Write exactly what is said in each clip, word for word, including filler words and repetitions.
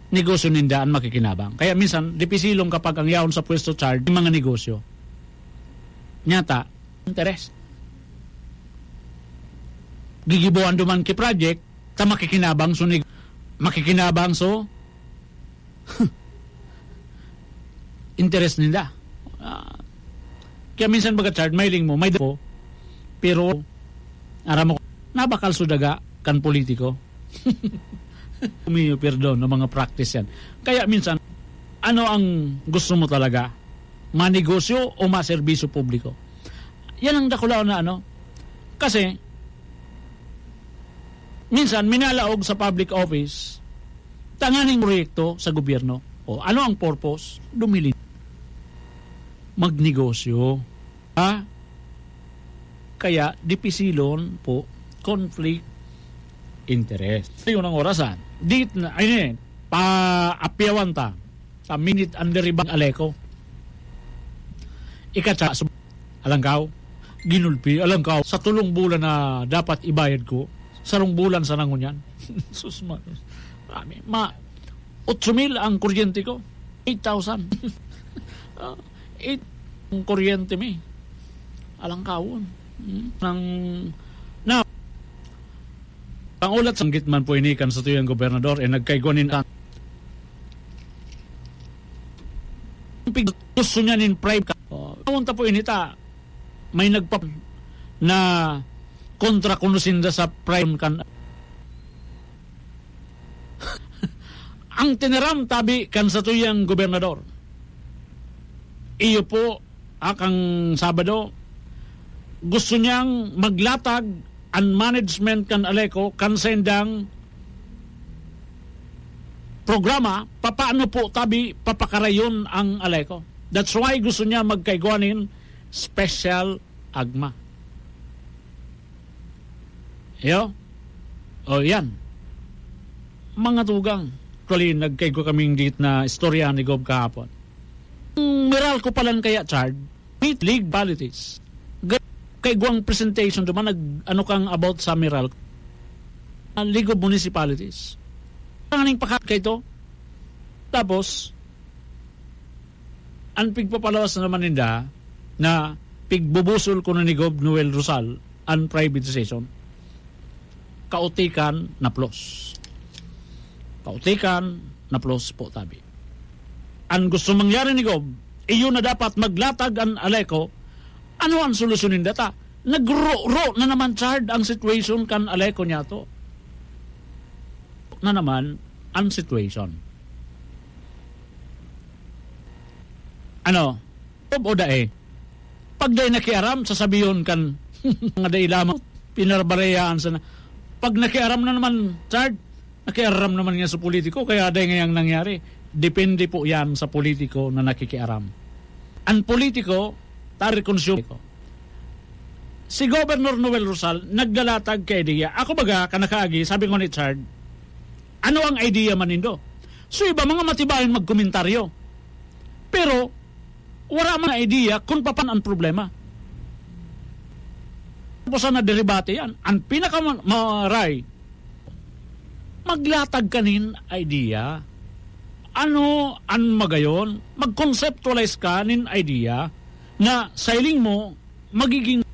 negosyo ninda an makikinabang. Kaya minsan, dipisilon kapag ang yaon sa pwesto, Chard, mga negosyo. Nyata, interes. Gigiboan duman ki project, ta makikinabang so neg-, makikinabang so interes ninda. Ah, kaya minsan baga, Chard, may ling mo, may dapo, pero aram mo, nabakal so daga kan politiko. Humingi perdon ng mga practice yan. Kaya minsan, ano ang gusto mo talaga? Manegosyo o maserbisyo publiko? Yan ang dakulaon na ano. Kasi, minsan, minalaog sa public office, tanganing proyekto sa gobyerno. O, ano ang purpose? Dumili. Magnegosyo. Ha? Kaya, dipisilon po, conflict interest. Yun ang orasan. Dit na, ay, pa, apyawan ta. Sa minute under ibang aleko. Ikatsa, sub-, alangkaw, ginulpi, alangkaw, sa tulong bulan na dapat ibayad ko, sarong bulan sa nangunyan. Sus, ma-, marami. Ma, otso mil ang kuryente ko. Eight thousand. Ah, eight ang kuryente mi. Alangkawon. Hmm? Nang, na, ang ulat sanggit man po ini kan satuyang gobernador, eh, nagkaigwa nin, gusto niya nin prime ka. Oh, tawon ta po ini ta, may nagpa-, na kontra kuno sinda sa prime kan. Ang tiniram tabi kan satuyang gobernador. Iyo po, ah, kang Sabado, gusto niyang maglatag an management kan Aleco kan saindang programa, papaano po tabi papakarayon ang Aleco. That's why gusto niya magkaigwa nin special agma. Yo? O, yan. Mga tugang. Actually, nagkaigwa kaming dit na istorya ni Gob kahapon. Ang Meralco palan kaya, Chard, meet League of Municipalities. Ga-, kaigwang presentation duman, nag-, ano kang about sa Meralco. Ah, League of Municipalities. Ang aning pakat kay to. Tapos, ang pigpapalawas na naman ninda na pigbubusol ko na ni Gob Noel Rosal ang privatization. Kautikan na plus. Kautikan na plus po, tabi. Ang gusto mangyari ni Gob, iyo na dapat maglatag ang Aleco. Ano ang solusyon ninda ta? Nagro-ro na naman, Chard, ang situation kan Aleco niya to. Na naman ang situation. Ano? Gob o dai? Pag dai nakiaram, sasabihon kan mga dai lamang, pinarbarayaan sana. Pag nakiaram na naman, Chard, nakiaram naman nga sa politiko, kaya dai ngayang nangyari. Depende po yan sa politiko na nakikiaram. Ang politiko, tari konsumo. Si Governor Noel Rosal, naglalatag ka idea. Ako baga, kanakaagi, sabi ko ni Chard, ano ang idea man nindo? So, iba, mga matibayon magkomentaryo. Pero, wala man idea kung papan ang problema. Tapos na deribate yan. Ang pinakamaray, maglatag ka nin idea. Ano an magayon? Mag-conceptualize ka nin idea na sa hiling mo, magiging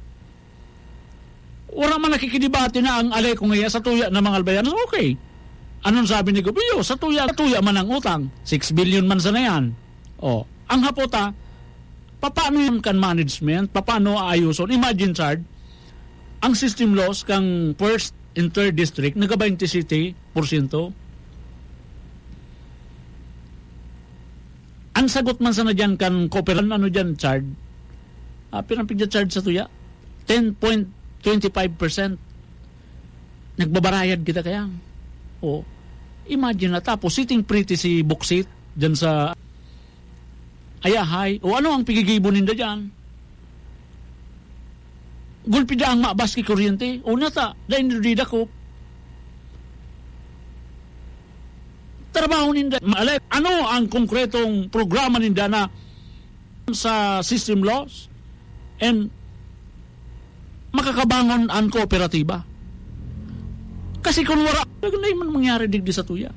wala man nakikidebate na ang Aleco ngayon sa tuya na mga Albayanos. Okay. Anong sabi ni Gobio? Sa tuya, sa tuya man ang utang. Six billion man sana yan. O, ang hapota, paano yan kan management? Paano aayuson? Imagine, Chard, ang system loss kang first and third district, naga twenty-seven porsyento. Ang sagot man sana dyan kan kooperan, ano dyan, Chard? Ah, pirang pigya charge sa tuya? Ten point twenty five percent. Nagbabarayad kita kaya. O, imagine na, tapos sitting pretty si Boksit dyan sa Ayahay. O, ano ang pigigibo ninda dyan? Gulpi da ang mabas ki kuryente. O, nata, dahil nila di dako. Trabaho ninda. Maalay, ano ang konkretong programa ninda na sa system loss and makakabangon ang kooperatiba? Kasi kung wala, dai man mangyari digdi sa tuya.